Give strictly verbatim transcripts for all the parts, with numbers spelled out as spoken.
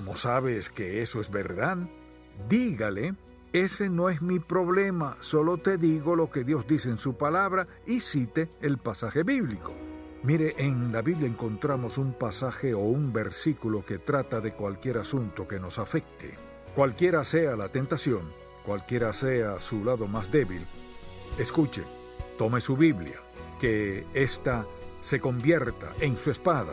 ¿Cómo sabes que eso es verdad? Dígale, ese no es mi problema, solo te digo lo que Dios dice en su palabra y cite el pasaje bíblico. Mire, en la Biblia encontramos un pasaje o un versículo que trata de cualquier asunto que nos afecte. Cualquiera sea la tentación, cualquiera sea su lado más débil, escuche, tome su Biblia, que ésta se convierta en su espada,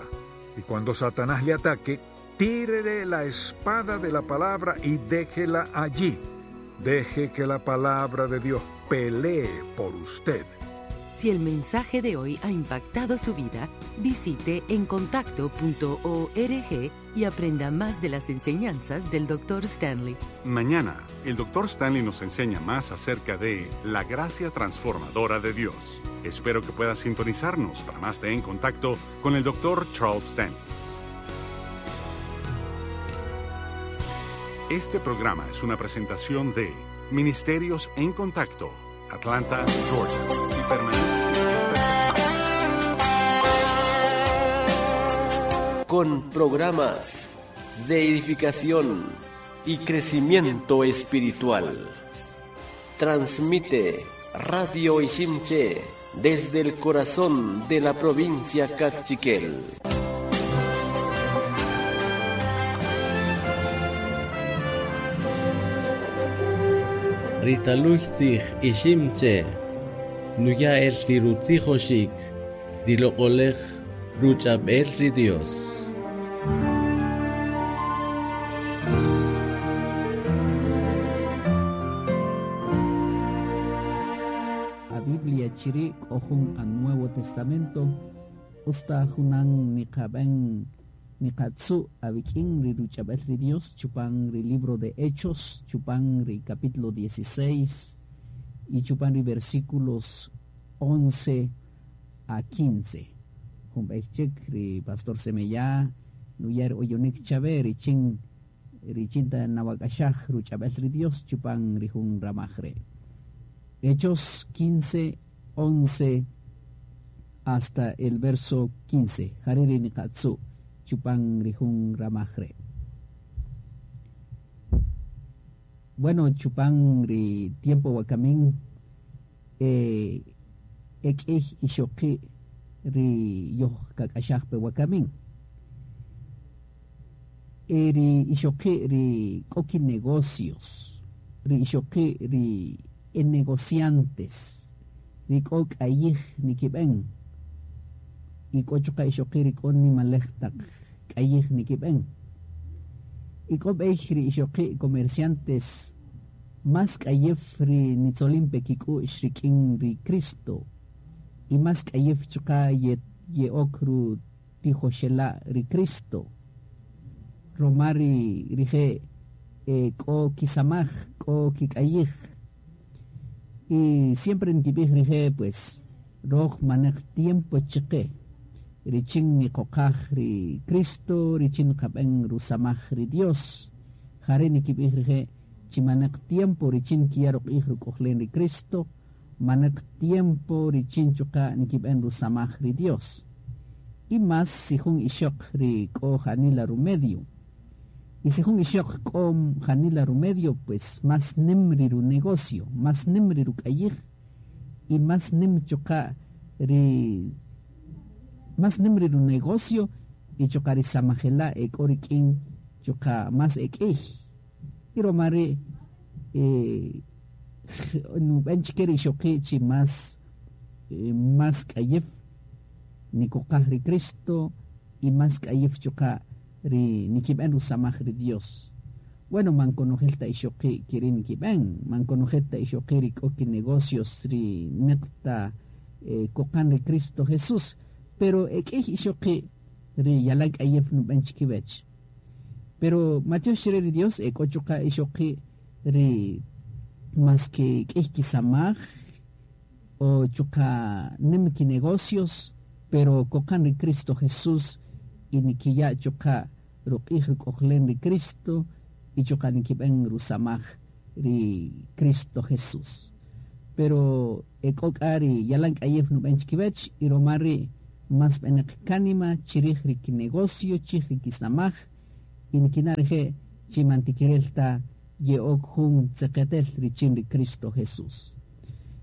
y cuando Satanás le ataque, tírele la espada de la palabra y déjela allí. Deje que la palabra de Dios pelee por usted. Si el mensaje de hoy ha impactado su vida, visite encontacto punto org y aprenda más de las enseñanzas del doctor Stanley. Mañana, el doctor Stanley nos enseña más acerca de la gracia transformadora de Dios. Espero que pueda sintonizarnos para más de En Contacto con el doctor Charles Stanley. Este programa es una presentación de Ministerios en Contacto, Atlanta, Georgia. Y permanece. Con programas de edificación y crecimiento espiritual. Transmite Radio Iximché desde el corazón de la provincia Kaqchikel. Ritaluchtzij Iximché, nuya el rirutzijoxik, riloqolej ruch'ab'el ri Dios. A Biblia chiri k'ojun a Nuevo Testamento, usta junan niqab'en niqatzu abikin ri ruch'ab'el ri Dios, chupan ri libro de Hechos, chupan ri capítulo dieciséis y chupan ri versículos once a quince. Jumbechik ri pastor Semeyá, nuyar oyonik chabe richin richinta nawakashaj ruch'ab'el ri Dios, chupan ri jun ramajre. Hechos quince, once hasta el verso quince. Jariri niqatzu chupan rijun ramajre. Bueno, chupan ri tiempo wakamin eh ek'ij ixoqi ri yoj kak'axajpe wakamin. E ri ixoqi ri k'oki negocios, ri ixoqi ri e negociantes, ri k'o k'ayij nikib'en. Y k'o chuqa ixoqi ri k'o nimalej taq k'ayij nikib'en. Y k'o b'ey ri ixoqi comerciantes más k'ayef ri nitzolimpe kik'u'x rik'in ri Cristo. Y más k'ayef chuqa ye, ye'ok ru tijoxela ri Cristo. Roma ri rije eh, k'o kisamaj, k'o kik'ayij. Y siempre nkib'ij rije pues roj maneq tiempo chiqe. Richin niqoqaj ri Cristo, richin qab'en rusamaj ri Dios. Jare nikib'ij rije chimaneq tiempo richin kiyaroq'ij ruk'ojlen ri Cristo, maneq tiempo richin chuqa nikib'en rusamaj ri Dios. Y más si jun ixoq ri k'o janila rumedio. Y si jun ixoq k'o janila rumedio, pues más nim ri ru negocio, más nim ri ruk'ayij, y más nim chuqa ri más nim ri ru negocio y chuqa ri samajela ek'o rik'in chuqa más ek'ij. Y romari eh nub'en chike ri ixoqi chi más eh, más k'ayef nikoqaj ri Cristo y más k'ayef chuqa ri nikib'en rusamaj ri Dios. Bueno, man konojelta ixoqi kiri nikib'en, man konojelta ixoqi ri k'o ki negocios ri neqta eh, koqan ri Cristo Jesús, pero ek'ij ixoqi ri yalan k'ayef nub'en chikib'ech. Pero Mateo xire ri Dios ek'o chuqa ixoqi ri más que k'ij kisamaj o chuqa nim ki negocios, pero koqan ri Cristo Jesús y nikiya chuqa ruq'ij ruk'ojlen ri Cristo y chuqa nikib'en rusamaj ri Cristo Jesús. Pero ek'o k'a ri yalan k'ayef nub'en chikib'ech y roma ri más b'eneq kánima chirij ri kinegocio, chirij ri kisamaj Y nikina' rije' chi man tikirel ta ye'ok jun tzeqetel richin ri Cristo Jesús.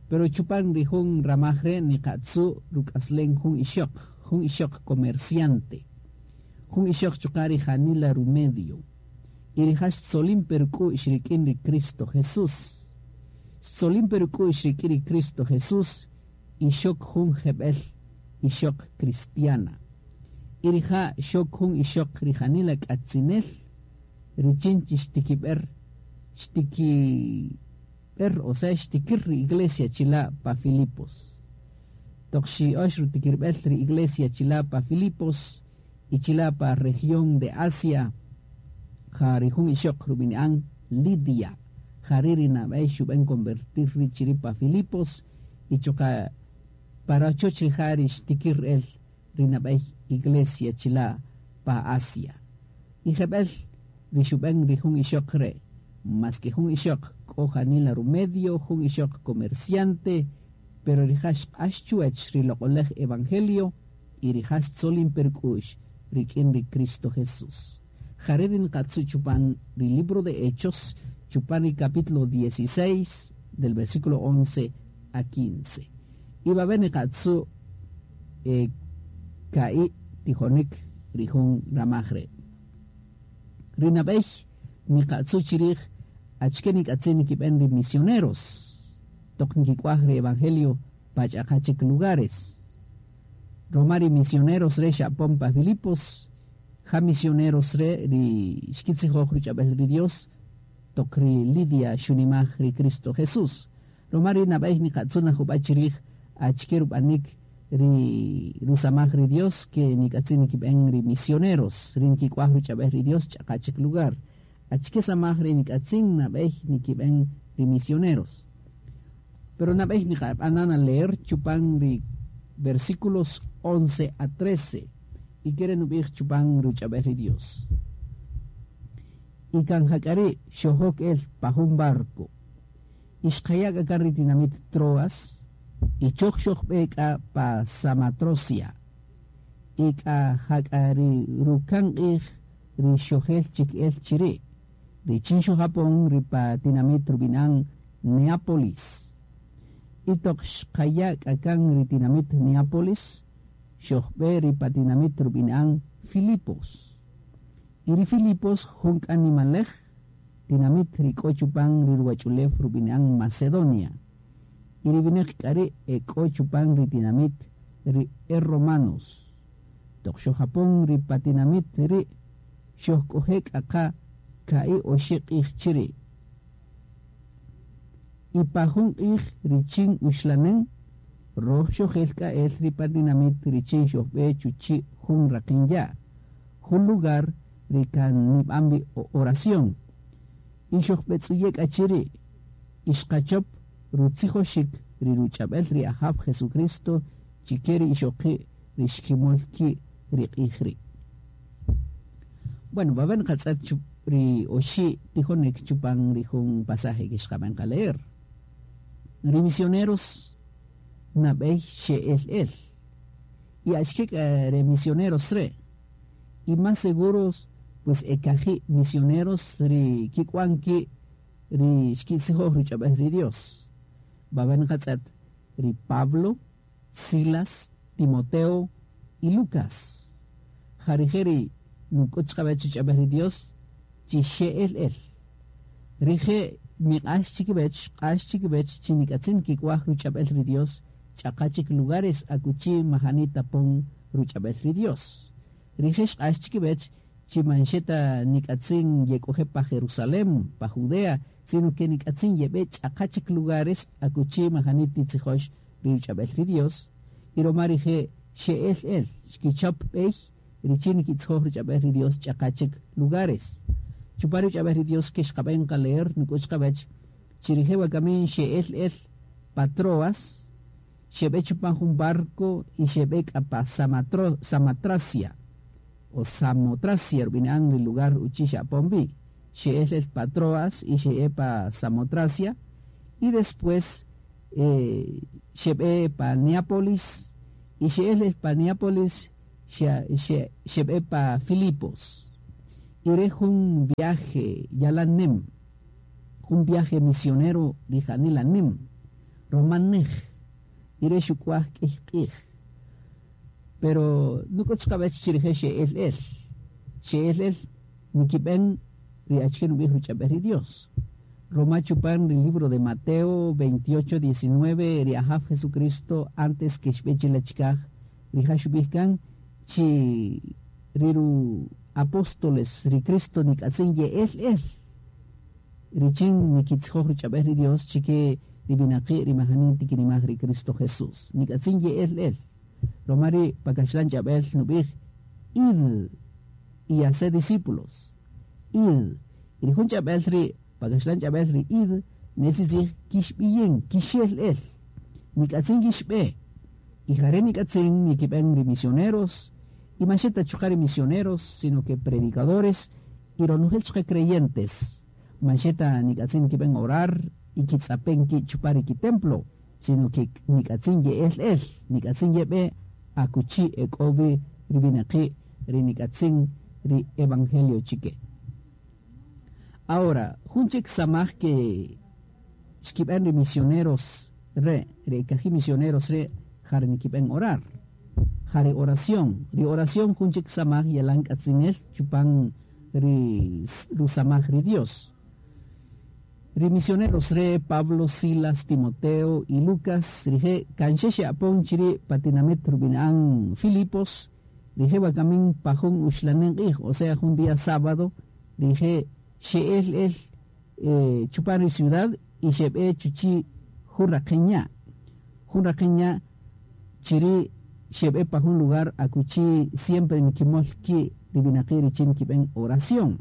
Pero chupan ri jun ramaj re' niqatzu' ruk'aslen jun ixöq, jun ixöq comerciante, jun ixöq chuqa' ri janila rumedio. Y rija' xtzolin pe ruk'u'x rik'in ri Cristo Jesús. Xtzolin pe ruk'u'x rik'in ri Cristo Jesús y xok jun jeb'el ixöq cristiana. Y rija' xok jun ixöq ri janila k'atzinel richin chi xtikib'er xtikib'er o sea xtikir ri iglesia chila' pa Filipos. Toq xi'ox rutikirb'el ri iglesia chila' pa Filipos y chila' pa región de Asia, ja ri jun ixöq rub'ini'an Lidia. Jari' ri nab'ey xub'en convertir ri chiri' pa Filipos y chuqa' pa rachoch rija' ri xtikir el ri nab'ey iglesia chila' pa Asia. Y jeb'el ri xub'en ri jun ixöq re', mas que jun ixöq k'o janila rumedio, jun ixöq comerciante, pero rija' xq'ax chuwach ri loq'olej evangelio y rija' xtzolin pe ruk'u'x rik'in ri Cristo Jesús. Jare' ri nqatzu' chupan ri libro de Hechos, chupan ri capítulo dieciséis, del versículo once a quince. Y va a niqatzu' eh, ka'i tijonik ri jun ramaj re'. Ri nab'ey niqatzu' chirij achke nik'atzin nikib'en ri misioneros toq nkik'uaj ri evangelio pa ch'aqa chik lugares. Roma ri misioneros re xa'pon pa Filipos, ja misioneros re ri xkitzijoj ruch'ab'el ri Dios toq ri Lidia xunimaj ri Cristo Jesús. Roma ri nab'ey niqatzu' najub'a chirij achke rub'anik ri rusamaj ri Dios que nik'atzin nikib'en ri misioneros ri nkik'uaj ruch'ab'el ri Dios ch'aqa chik lugar. Achke samaj ri nik'atzin nab'ey nikib'en ri misioneros. Pero nab'ey niqab'anan a leer chupan ri versículos once a trece y quieren ub'ij chupan ruch'ab'el ri Dios. Y kan jak'ari xojok el pa jun barco. Y xqaya' k'a ri tinamit Troas y choj xojb'e k'a pa Samatrosia. Y k'a jak'ari rukan q'ij ri xojel chik el chiri'. Richin xojapon ri pa tinamit rub'inan Neápolis. Y toq xqaya' k'a kan ri tinamit Neápolis, xojb'e ri pa tinamit rub'inan Filipos. Y ri Filipos jun k'a nimalej tinamit ri k'o chupan ri ruwach'ulew rub'inan Macedonia. Y ri winäq k'a ri' e k'o chupan ri tinamit ri e romanos. Toq xojapon ri pa tinamit ri' xojk'oje' k'a qa ka'i oxi' q'ij chiri'. Y pa jun q'ij richin uxlanen, roj xojel k'a el ri pa tinamit richin xojb'e chuchi' jun raqen ya', jun lugar ri kan nib'an wi oración. Y xojb'etz'uye' k'a chiri', y xqachop rutzijoxik ri ruch'ab'el ri Ajaw Jesucristo chike ri ixoqi' ri xkimol ki' ri q'ij ri'. Bueno, va a ver ri oxi' tijonik chupan ri jun pasaje que xqab'an qa leer. Ri misioneros nab'ey xe'el el. Y achke k'a ri misioneros re'. Y más seguros, pues ekaji' misioneros ri kik'uan ki' ri xkitzijoj ruch'ab'el ri Dios. Va a ver nqatz'et ri Pablo, Silas, Timoteo y Lucas. Jarije' ri nuk'ut chqab'ech ruch'ab'el ri Dios chi xe'el el. Rije' miq'ax chikib'ech, q'ax chikib'ech chi nik'atzin kik'uaj ruch'ab'el ri Dios ch'aqa chik lugares akuchi majani tapon ruch'ab'el ri Dios. Rije' xq'ax chikib'ech chi manxeta nik'atzin yek'oje pa Jerusalén, pa Judea, sino que nik'atzin yeb'e ch'aqa chik lugares akuchi majani titzijox ri ruch'ab'el ri Dios. Y roma rije' xe'el el, xkichop b'ey richin nikitzijoj ruch'ab'el ri Dios ch'aqa chik lugares. Chupan ruch'ab'el ri Dios que xqab'en qa leer nuk'ut chqab'ech, chirije' wakamin xe'el el pa Troas, xeb'e chupan jun barco y xeb'e k'a pa Samatro, Samatracia o Samotracia rub'inan ri lugar uchi xa'pon wi. Xe'el el pa Troas y xe'e pa Samotracia y después eh, xeb'e pa Neápolis y xe'el el pa Neápolis xeb'e pa Filipos. Ire jun viaje yalan nim, jun viaje misionero ri janila nim, romanej, ire xukuaj k'ij k'ij. Pero nuk'ut xqab'ech chirije xe'el el, xe'el el nikib'en ri achike nub'ij ruch'ab'ej ri Dios. Roma chupan el libro de Mateo veintiocho, diecinueve, ri Ajaw Jesucristo antes que xb'e chilachikaj, ri xub'ij kan chi riru apóstoles ri Cristo nik'atzin ye'el el richin nikitzijoj ruch'ab'ej ri Dios chike ri winaqi' ri majani tikinimaj ri Cristo Jesús nik'atzin ye'el el. Romari pakaxlan ch'ab'el nub'ij id y hacer discípulos id y ri jun ch'ab'el ri pakaxlan ch'ab'el ri id nel tzij kixb'iyin kixel el nik'atzin kixb'e y jare nik'atzin nikib'en ri misioneros y macheta chuqari misioneros sino que predicadores y ronojel chuqa creyentes macheta nik'atzin nikib'en orar y kitz'apen ki chupari ki templo sino que nik'atzin ye'el el nik'atzin yeb'e akuchi ek'obi ri winaqi' ri nik'atzin ri evangelio chike. Ahora, jun chik samaj que xkib'en ri misioneros re, ri kaji misioneros re, jare nikib'en orar. Jare oración, ri oración jun chik samaj yalan k'atzinel chupan ri rusamaj ri Dios. Ri misioneros re Pablo, Silas, Timoteo y Lucas, rije kanxexe apon chiri patinamit rubinaan Filipos, rije wakamin pajun uxlanen q'ij, o sea, jun día sábado, rije xe'el el eh, chupan ri ciudad y xeb'e chuchi jurraqeña. Jurraqeña chiri xeb'e pa jun lugar akuchi siempre nikimol ki ri winaqi' richin kib'en oración.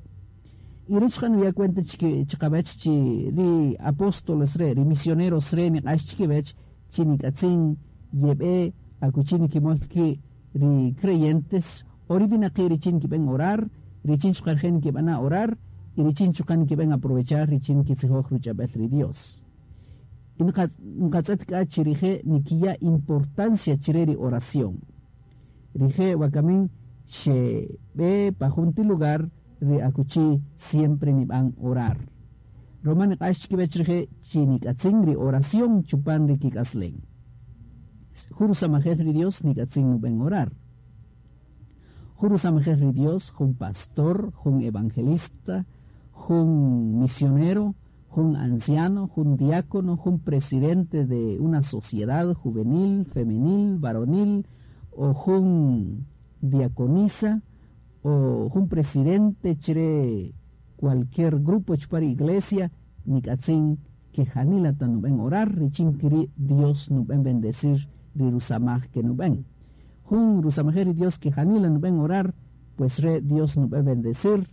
Y rich xan ya cuenta chiki chikabech chi ri apóstoles re, ri misioneros re niq'ax chikibech chi nik'atzin yeb'e akuchi nikimol ki ri creyentes o ri winaqi' richin kib'en orar, richin chuqarjen kib'ana orar y richin chuqan kib'en aprovechar richin kitzijoj ruch'ab'el ri Dios. Y nqatz'et k'a chi rije' nikiya importancia chire ri oración. Rije' wakamin xeb'e pa junti lugar ri akuchi siempre nib'an orar. Roma niq'ax chikib'ech rije' chi nik'atzin ri oración chupan ri kik'aslen. Juru samajel ri Dios nik'atzin nub'en orar. Juru samajel ri Dios, jun pastor, jun evangelista, jun misionero, jun anciano, jun diácono, jun presidente de una sociedad juvenil, femenil, varonil, o jun diaconisa, o jun presidente chire cualquier grupo chupar iglesia, nikatzin que janila ta nuben orar, richin kiri Dios nuben bendecir ri rusamaj que nuben. Jun rusamaj Dios que janila nuben orar, pues re Dios nuben bendecir,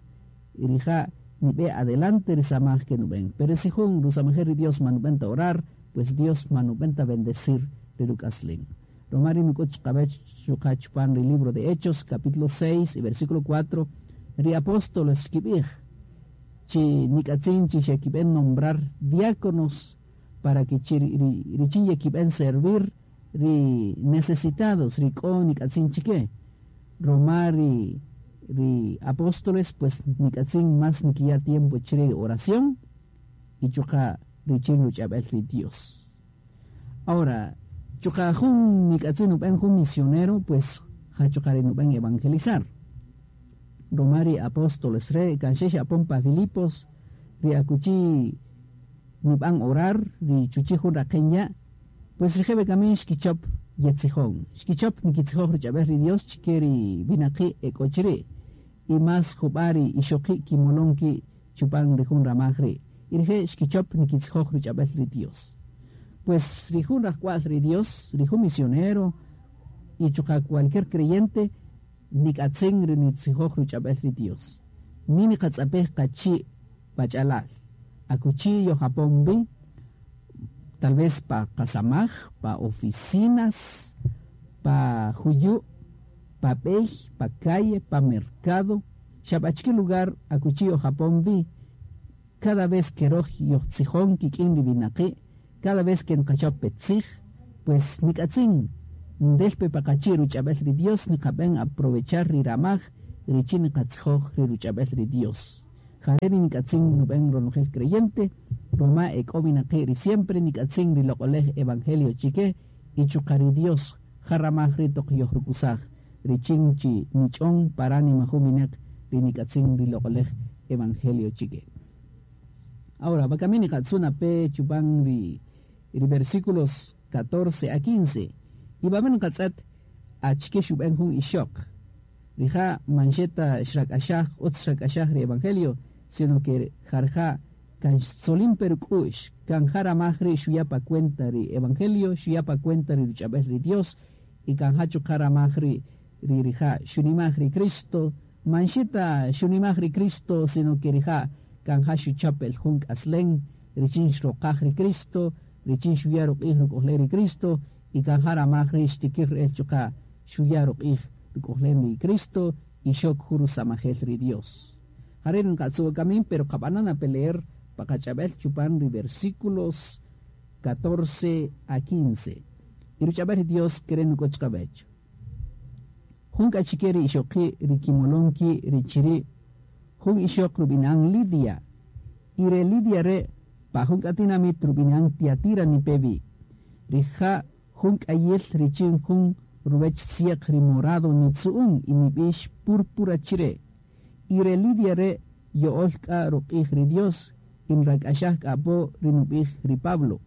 y rija nibe adelante risamaj que nuben. Pero si jun rusamaj Dios manubenta orar, pues Dios manubenta bendecir rirukaslin. Romari nukoch kabech chupan ri libro de Hechos, capítulo seis y versículo cuatro, ri apóstoles kibij, chi nikatzin chi xekiben nombrar diáconos para que chi ri richin yekiben servir ri necesitados, ri k'o nikatzin chike. Romari ri apóstoles pues nikatzin más nikiya tiempo chire oración y chuka richin ruchabel ri Dios. Ahora, chuka jun nikatzin uben jun misionero pues ja chuka ri nuben evangelizar. Romari apóstoles re kanxex apon pa Filipos ri akuchi nib'an orar ri chuchi jun raqeña pues rijebe kamin xkichop yetzijon xkichop nikitzijoj ruch'ab'ej ri Dios chike ri winaqi' ek'ochri y más jub'ari ixoqi' kimolonki chupan ri jun ramaj ri y rije xkichop nikitzijoj ruch'ab'ej ri Dios. Pues ri jun rajk'wa'l ri Dios ri jun misionero y chuqa cualquier creyente nikatzin ri nitzijoj ruch'ab'ej ri Dios. Ni niqatz'apej qachi' pach'alal akuchi yojapon bi tal vez pa qasamaj, pa oficinas, pa juyu, pa b'ey, pa calle, pa mercado, xab'achki lugar akuchi yojapon bi cada vez que roj yojtzijon kik'in ri winaqi', cada vez que nqachop petzij, pues nikatzin ndelpe paqachi ruch'ab'el ri Dios niqab'en aprovechar ri ramaj richin niqatzijoj ri ruch'ab'el ri Dios. Jare ri nik'atzin nub'en ronojel creyente, roma ek'o winaqi' ri siempre nik'atzin ri loq'olej evangelio chike y chuqa' ri Dios jaramaj ri toq yojrukusaj richin chi nich'on paránima jun winaq ri nik'atzin ri loq'olej evangelio chike. Ahora, wakami niqatzuna pe chupan ri, ri versículos catorce a quince. Y baben qatz'et achike xub'en jun ixoq. Rija manxeta xrak'axaj utz xrak'axaj ri evangelio, sino que jarja kan xtzolin peruk'u'x, kan jaramaj ri xuya pa cuenta ri evangelio, xuya pa cuenta ri ruch'ab'el ri Dios, y kan jachu jaramaj ri ri rija xunimaj ri Cristo, manxeta xunimaj ri Cristo, sino que rija kan ja xuchapel jun k'aslen, richin xroqaj ri Cristo, richin xuya ruq'ij ruk'ojlen ri Cristo, y kan jaramaj ri xtikir el chuqa xuya ruq'ij ruk'ojlen ri Cristo, y xok juru samajel ri Dios. Jare nqatzu kamin, pero qab'anan a peleer paqach'ab'el chupan ri versículos catorce a quince. Y ruch'ab'el Dios kere nuk'och qab'ech. Jun k'achike ri ixoqi ri kimolonki ri chiri, jun ixoq rub'inan Lidia. Y re Lidia re pa jun k'atinamit rub'inan Tiatira nipevi. Rija jun k'ayel richin jun ruwech tzieq ri morado nitzu'un y nib'ix púrpura chire. Y re Lidia re yo'ol k'a ruq'ij ri Dios, inrak'axaj k'apo ri nub'ij ri Pablo.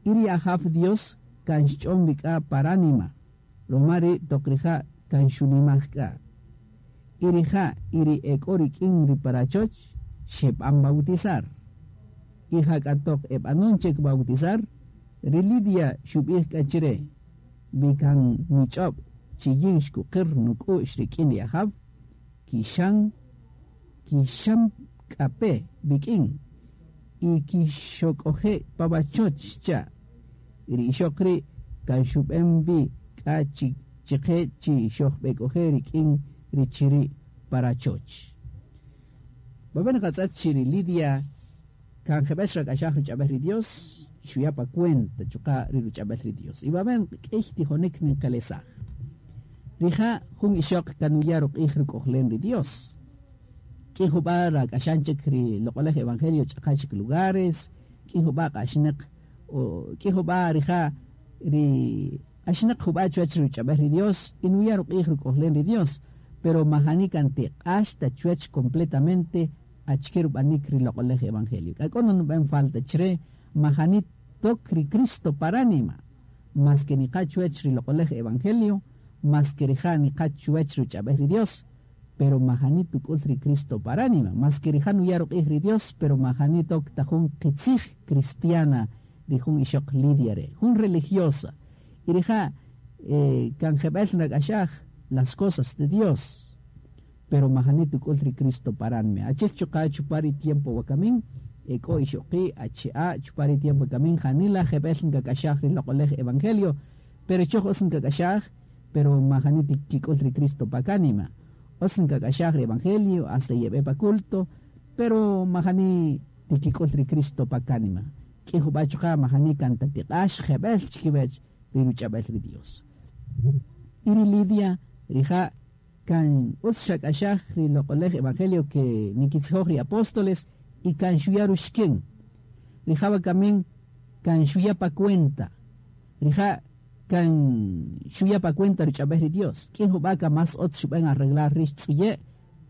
Y ri ajaf Dios kan xch'on k'a paránima, romari toq rija' kan xunimaj k'a. Y rija' y ri ek'o rik'in ri parachoch xeb'an bautizar. Y ja k'a toq eb'anon chek bautizar, ri Lidia xub'ij k'a chire, vi kan nich'ob' chi yin xkuqir nuk'u'x rik'in ri ajaw, kixan kixam k'ape bik'in y kixok'oje pabachoch xcha'. Ri ixoq ri' kan xub'en vi k'a chi chiqe chi xojb'ek'oje rik'in ri chiri' parachoch. Baben qatz'at chi ri Lidia kan jeb'el xrak'axaj ruch'ab'el ri Dios, xuya pa cuenta chuqa' ri ruch'ab'el ri Dios. Y baben k'ey tijonik ninqelesaj. Rija' jun ixoq kanuya ruq'ij ruk'ojlen ri Dios. K'in jub'a rak'axan chik ri loq'olej evangelio ch'aqa chik lugares, k'in jub'a q'axnaq o k'in jub'a rija' ri q'axnaq jub'a chuwach ruch'ab'el ri Dios y nuya ruq'ij ruk'ojlen ri Dios, pero majani kan tiq'ax ta chuwach completamente achike rub'anik ri loq'olej evangelio. K'a k'o nub'en falta chre majani tok ri Cristo paránima, mas que niqa chuwach ri loq'olej evangelio, mas que rija' niqa chuwach ruch'ab'el ri Dios, pero majani tuk'ul ri Cristo paránima, mas que rija' nuya ruq'ij ri Dios, pero majani tok ta jun qitzij cristiana ri jun ixoq Lidia re, jun religiosa. Y rija' eh, kan jeb'el nak'axaj las cosas de Dios, pero majani tuk'ul ri Cristo paránima. Achel chuqa' chupari tiempo wakamin, ek'o ixoqi achi'a chupari tiempo wakamin, janila jeb'el nkak'axaj ri loq'olej evangelio, pero choj os nkak'axaj, pero majani tikik'ul ri Cristo pakánima. Os nkak'axaj ri evangelio hasta yeb'e pa culto, pero majani tikik'ul ri Cristo pakánima. K'in jub'a chuqa' majani kan tatiq'ax jeb'el chikiwech ri ruch'ab'el ri Dios. Y ri Lidia rija' kan utz xak'axaj ri loq'olej evangelio que nikitzijoj ri apóstoles y kan xuya ruxkin. Rija' wakamin kan xuya pa cuenta. Rija' kan xuya pa cuenta ruch'ab'el ri Dios. K'in jub'a ka mas otz xub'en arreglar rix tz'uye'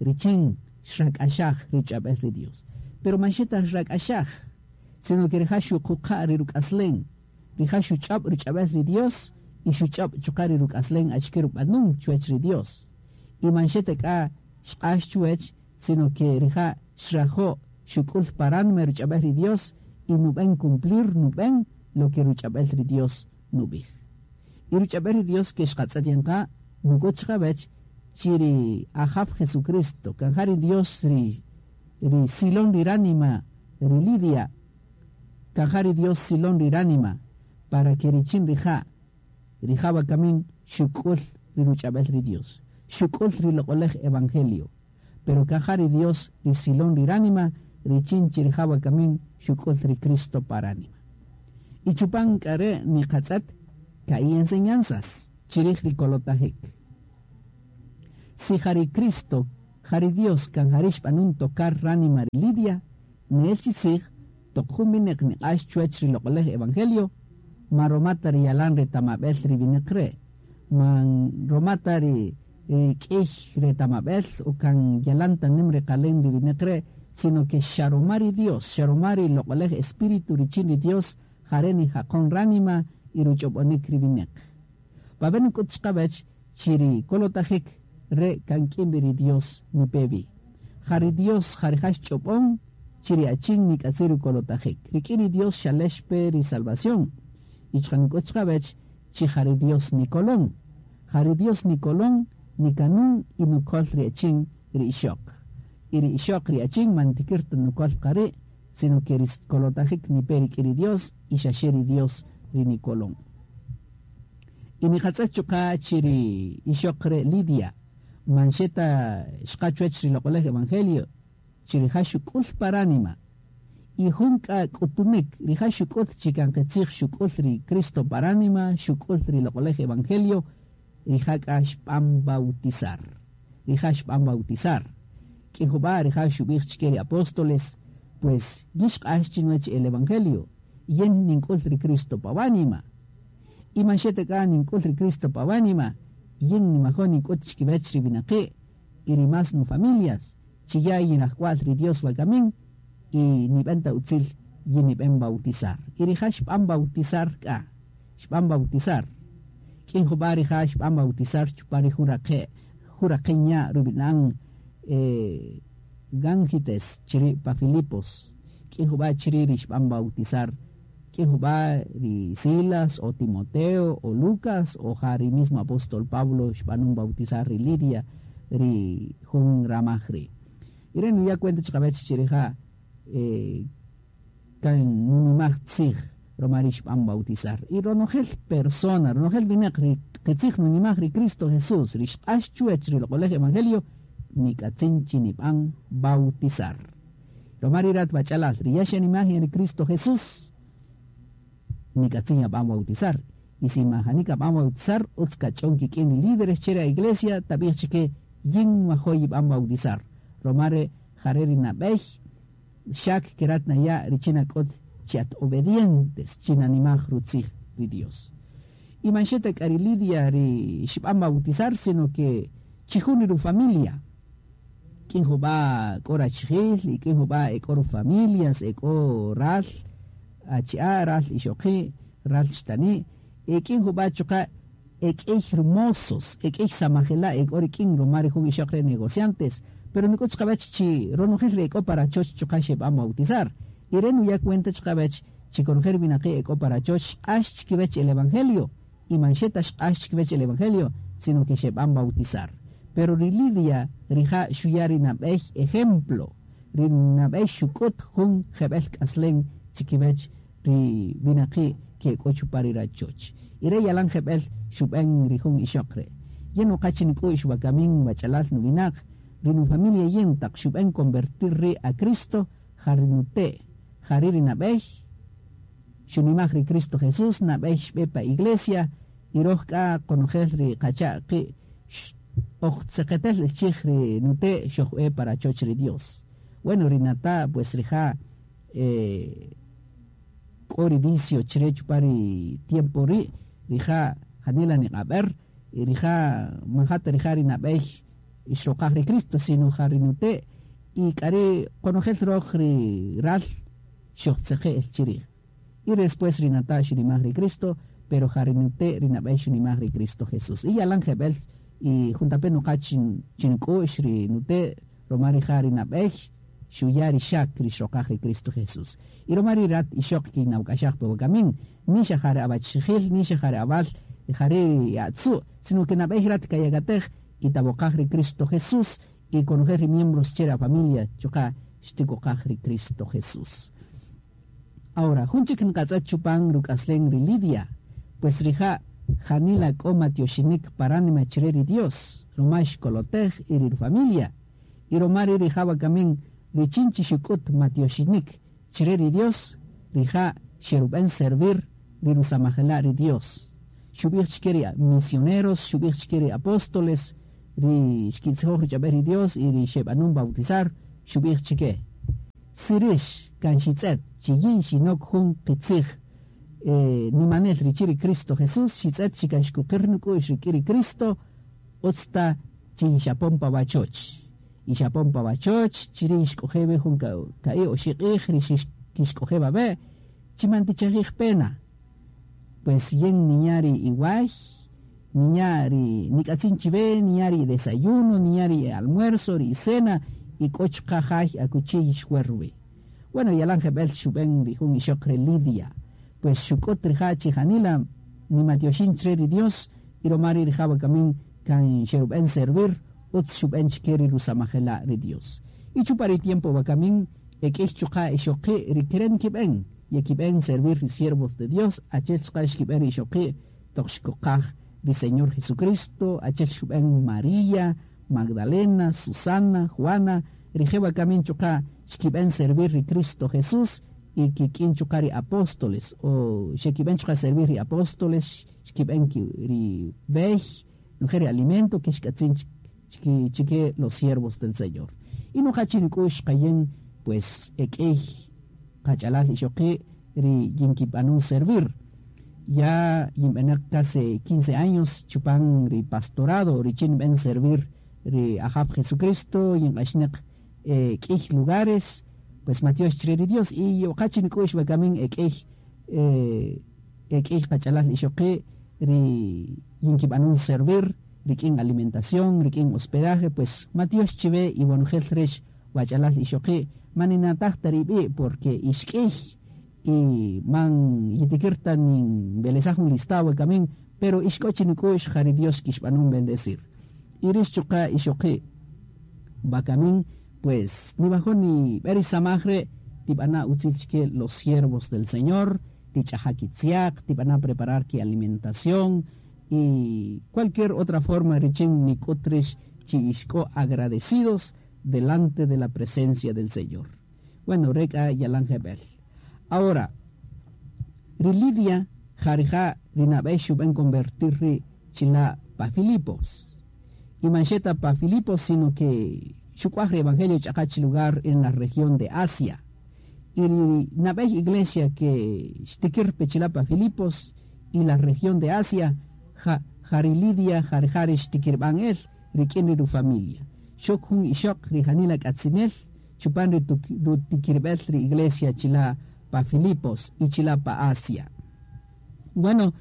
richin xrak'axaj ruch'ab'el ri Dios. Pero man xeta xrak'axaj, sino que rija' xuquqa' ri ruk'aslen. Rija' xuch'ob' ruch'ab'el ri Dios y xuch'ob' chuqa' ri ruk'aslen achike rub'anun chuwach ri Dios. Y man xeta k'a xq'ax chuwach, sino que rija' xrajo' xuk'ul paranme ruch'ab'el ri Dios y nub'en cumplir nub'en lo que ruch'ab'el ri Dios nub'ij. Y ruch'ab'el ri Dios que xqatz'et yanqa nuk'ut xqab'ech chi ri Ajaf Jesucristo, kan ja ri Dios ri, ri silon ri ránima ri Lidia, kan ja ri Dios silon ri ránima para que richin rija' rija' wakamin xuk'ul ri ruch'ab'el ri Dios, xuk'ul ri loq'olej evangelio, pero kan ja ri Dios ri silon ri ránima richin chi rija' wakamin xuk'ul ri Cristo paránima. Y chupan k'a re' niqatz'et ka'i enseñanzas chirij ri kolotajik. Si jari Cristo, jari Dios kan jari xb'anun tocar ránima ri Lidia, nel chi tzij toq jun wineq niq'ax chuwach ri loq'olej evangelio, ma romata ri yalan retamab'el ri wineq re', man romata ri k'ij retamab'el o kan yalan ta nim reqalen ri wineq re', sino que xaromari Dios, xaromari loq'olej espíritu richin ri Dios, jare nijaqon ránima y ruch'ob'onik ri wineq. Paben nk'ut chqawach chi ri kolotajik re kan k'in ri Dios nipevi. Jari Dios jari ch'ob'on chi ri achin nik'atzi rukolotajik. Rik'in ri Dios xalex pe ri salvación. Y chqa nk'ut chqawach chi jari Dios nikolon. Jari Dios nikolon, nikanun y nukol ri achin ri ixoq. Y ri ixoq ri achin man tikir ta nukol qari', sino que ri kolotajik nipe rik'in ri Dios y xaxe ri Dios ri nikolon. Y niqatz'et chuqa' chi ri ixoq re Lidia, man xeta xqa chuwach ri loq'olej evangelio, chi rija' xuk'ul paránima. Y jun k'a k'utunik, rija' xuk'ul chi kan qitzij xuk'ul ri Cristo paránima, xuk'ul ri loq'olej evangelio, rija' k'a xb'an bautizar. Rija' xb'an bautizar. K'in jub'a' rija' xub'ij chike ri apóstoles, pues yixq'ax chinuwach el evangelio, yen nink'ul ri Cristo pawánima. Y man xeta k'a nink'ul ri Cristo pawánima, yin nimajo nink'ut chikiwach ri winaqi' y ri más nu familias, chi ya yinajwal ri Dios wakamin, y nib'en ta utzil yin nib'en bautizar. Y rija' xb'an bautizar k'a, xb'an bautizar. K'in jub'a' rija' xb'an bautizar chupan ri jun raqe', jun raqeña rub'inan eh, Gangites chiri pa Filipos. K'in jub'a' chiri ri xb'an bautizar. K'in jub'a' ri Silas o Timoteo o Lucas o ja ri mismo apóstol Pablo xb'anun bautizar ri Lidia ri jun ramaj ri. Y re nuya cuenta chqawach chi rija' eh, kan nunimaj tzij roma ri xb'an bautizar. Y ronojel persona, ronojel wineq ri qitzij nunimaj ri Cristo Jesús, ri xq'ax chuwach ri loq'olej evangelio, nik'atzin chi nib'an bautizar. Roma ri rat wach'alal, ri ya xanimaj ri Cristo Jesús, nik'atzin yab'an bautizar. Y si majani kab'an bautizar, utz kach'on kik'in ri líderes che ra iglesia, tab'ij chike yin nwajo yib'an bautizar. Romare jare ri nab'ey, xak kerat naya richin ak'ot chi at obedientes, chi nanimaj rutzij ri Dios. Y man xeta k'a ri Lidia ri xb'an bautizar, sino que chijun ri familia. K'in jub'a k'o rachijil, y k'in jub'a ek'o ru familias, ek'o ral, achi'a, ral ixoqi', ral xtani', e k'in jub'a chuqa' ek'ey hermosos, ek'ey samajela' ek'o rik'in roma ri jun ixoq re negociantes, pero nik'ut chqawach chi ronojel ri ek'o para choch chuqa' xeb'an bautizar. Y re nuya cuenta chqawach chi konojel winaqi' ek'o para choch xq'ax chikiwach el evangelio, y man xeta xq'ax chikiwach el evangelio, sino que xeb'an bautizar. Pero ri Lidia rija' xuya ri nab'ey ejemplo, ri nab'ey xuk'ut jun jeb'el k'aslen chikiwach ri winaqi' ke ek'o chupan ri rachoch. Y re yalan jeb'el xub'en ri jun ixoq re. Yen uqach nik'u'x wakamin wach'alal nuwinaq, ri nu familia yen taq xub'en convertir ri a Cristo, jari nute', jari ri nab'ey, xunimaj ri Cristo Jesús, nab'ey xb'e pa iglesia, y roj k'a konojel ri qacha' qi' oj tzeqetel el chij ri nute' xojb'e para choch ri Dios. Bueno, ri nata, pues rija' eh, k'o ri vicio chire chupan ri tiempo ri', rija' janila niq'ab'er, y rija' manjata rija' ri nab'ey ixroqaj ri Cristo, sino ja ri nute', y k'ari konojel roj ri ral xojtzeqe' el chirij. Y después ri nata xunimaj ri Cristo, pero ja ri nute' ri nab'ey xunimaj ri Cristo Jesús. Y yalan jeb'el, y juntape nuqa chin chink'u'x ri nute' roma rija' ri nab'ey xuya ri xak ri xroqaj ri Cristo Jesús. Y roma ri rat ixoq kinawk'axaj pe wakamin, ni xa jare abachijil, ni xa jare abal, jare ri atzu', sino que nab'ey rat kayakatej y taboqaj ri Cristo Jesús, y konojel ri miembros che ra familia chuqa' xtikoqaj ri Cristo Jesús. Ahora, jun chik nqatz'et chupan ruk'aslen ri Lidia, pues rija' janila k'o matioxinik paránima chire ri Dios, roma xkolotej y ri familia, y roma ri rija' wakamin richin chi xuk'ut matioxinik chire ri Dios, rija' xerub'en servir ri rusamajela' ri Dios. Xub'ij chike ri misioneros, xub'ij chike ri apóstoles, ri xkitzijoj ruch'ab'el ri Dios y ri xeb'anun bautizar xub'ij chike sirish kan xitz'et chi yin xinok jun qitzij eh, nimanel richin ri Cristo Jesús xitz'et chi kan xkuqir nuk'u'x rik'in ri Cristo utz ta chi xapon pa wachoch y xapon pa wachoch chiri' xk'oje' jun ka'i oxi' q'ij ri xk'oje' wawe' chi man tichajij pena pues yin ninya' ri iway ninya' ri nik'atzin chiwe ninya' ri desayuno ninya' ri almuerzo ri cena y k'o chuqa' jay akuchi yixwer wi. Bueno, yalan jeb'el xub'en ri jun ixoq re Lidia pues xuk'ut rija' chi janila nimatioxin chre ri Dios y roma ri rija' wakamin kan xerub'en servir utz xub'en chike ri rusamajela' ri Dios. Y chupa ri tiempo wakamin ek'ix chuqa' ixoqi' ri keren kib'en yekib'en servir ri siervos de Dios achel chuqa' xkib'en ri ixoqi' toq xkoqaj ri Señor Jesucristo achel xub'en María, Magdalena, Susana, Juana rije' wakamin chuqa' xkib'en servir ri Cristo Jesús y kik'in chuqa' ri apóstoles o xekib'en chuqa' servir ri apóstoles xkib'en ri b'ey nojel ri alimento que xk'atzin chike los siervos del Señor. Y noja chi nik'u'x qayen pues ek'ey qach'alal ixoqi' ri yinkib'anun servir. Ya yinb'enaq casi quince años chupan ri pastorado richin b'en servir ri Ajab Jesucristo yinq'axnaq eh, k'ij lugares pues matiox chre ri Dios y yoqachi nik'u'x wakamin ek'ey eh, ek'ey qach'alal ixoqi' ri yinkib'anun servir rik'in alimentación rik'in hospedaje pues matiox chiwe y wanujel rex wach'alal ixoqi' maninataj ta rib'i porque ixk'ij y man yitikirta nin belezaj un listado wakamin pero ixk'o chi nik'u'x jari Dios kixb'anun bendecir y rix chuqa' ixoqi' wakamin pues ni bajo ni b'eri samaj re' tib'ana' utzil chike los siervos del Señor tich'aja kitziaq tib'ana' preparar ki alimentación y cualquier otra forma richin nik'ut rix chi ixk'o agradecidos delante de la presencia del Señor. Bueno, reka yalan jeb'el. Ahora, ri Lidia jarija ri nab'ey xub'en convertir ri chila' pa Filipos. Y man xeta pa Filipos, sino que xuk'uaj ri evangelio ch'aqa lugar en la región de Asia. Y ri nab'ey iglesia que xtikir pe chila' pa Filipos y la región de Asia, ja, jari Lidia jarijari xtikirb'an el rik'in ri familia. Xok jun ixoq ri janila k'atzinel chupan ri rutikirb'el ri iglesia chila' pa Filipos y chila' pa Asia. Bueno,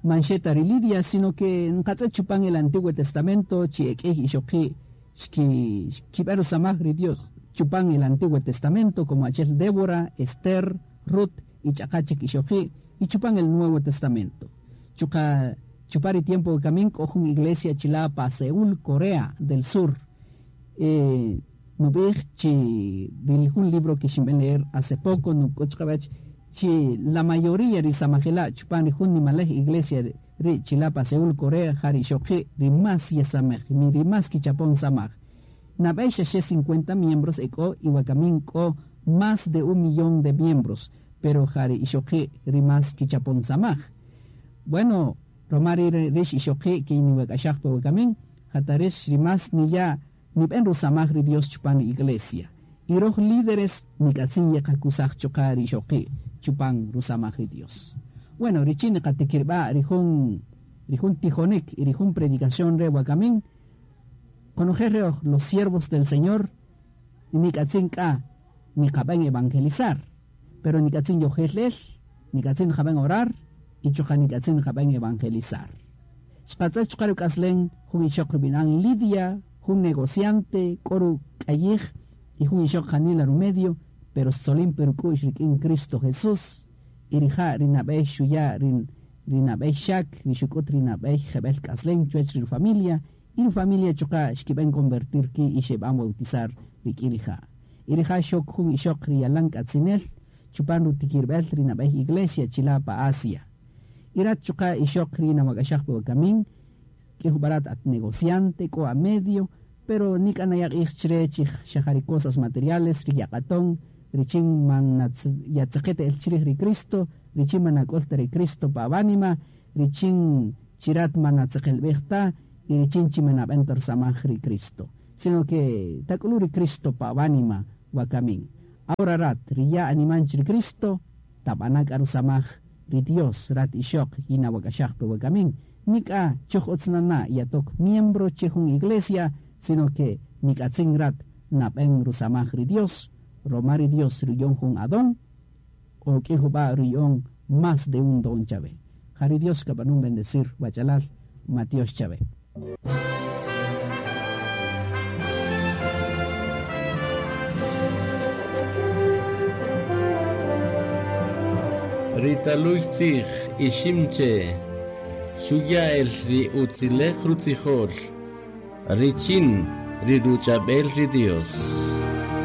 man xeta ri Lidia, sino que nqatz'et chupan el Antiguo Testamento chi ek'ej ixoqi' xki xkib'en rusamaj ri Dios chupan el Antiguo Testamento como achel Débora, Esther, Ruth y ch'aqa chik ixoqi' y chupan el Nuevo Testamento. Chuqa chupari tiempo kamin k'o jun iglesia chila' pa Seúl, Corea del Sur. Eh, nub'ij chi jun libro que xinb'en leer hace poco nuk'ut chiqawach chi la mayoría ri samajela' chupan ri jun nimalej iglesia ri chila' pa Seúl, Corea jari ixoqi' ri más yesamej ri más kichapon samaj. Nab'ey xaxe cincuenta miembros ek'o y wakamin k'o más de un millón de miembros, pero jari ixoqi' ri más kichapon samaj. Bueno, romari rix ixoqi' que niwak'axaj pa wakamin, jatarex ri más niya nib'en rusamaj ri Dios chupan ri iglesia. Y roj líderes nik'atzin yeqakusaj chuqa' ri ixoqi' chupan rusamaj ri Dios. Bueno, richin qatikirb'a ri jun ri jun tijonik y ri jun predicación re wakamin, conocer los siervos del Señor nik'atzin k'a niqab'en evangelizar, pero nik'atzin yojel nik'atzin qab'en orar y chuqa' nik'atzin qab'en evangelizar. Xqatz'et chuqa' ruk'aslen jun ixoq rub'inan Lidia, jun negociante, k'o ruk'ayij y jun ixoq janila rumedio, pero xtzolin pe ruk'u'x rik'in Cristo Jesús y rija' ri nab'ey xuya' ri ri nab'ey xak ri xuk'ut ri nab'ey jeb'el k'aslen chuwach ri familia y ri familia chuqa' xkib'en convertir ki' y xeb'an bautizar rik'in rija'. Y rija' xok jun ixoq ri yalan k'atzinel chupan rutikirb'el ri nab'ey iglesia chila' pa Asia. Y rat chuqa' ixoq ri nawak'axaj pa wakamin, k'ij jub'arat at negociante, k'o a medio, pero nik'anaya q'ij chre chi xajari cosas materiales ri yaq'aton, richin man yatzeqet el chrij ri Cristo, richin man nak'olta ri Cristo pa awánima, richin chirat man atzeqelb'ej ta, Y richin chi manab'en ta rusamaj ri Cristo, sino que tak'ulu ri Cristo pa awánima wakamin. Ahora rat, ri ya animan ri Cristo, tab'ana k'a rusamaj ri Dios, rat ixoq yina wak'axaj pe wakamin. Nik'a choj utz nana' yatok miembro che jun iglesia, sino que nik'atzin rat nab'en rusamaj ri Dios, roma ri Dios ruyon jun adon, o k'ij jub'a' ruyon más de un don chave. Jari Dios kab'anun bendecir wachalal Matios chave. Ritaluy tzij iximche, xuya el ri utzilej rutzijol, richin ri ruchabel ri Dios.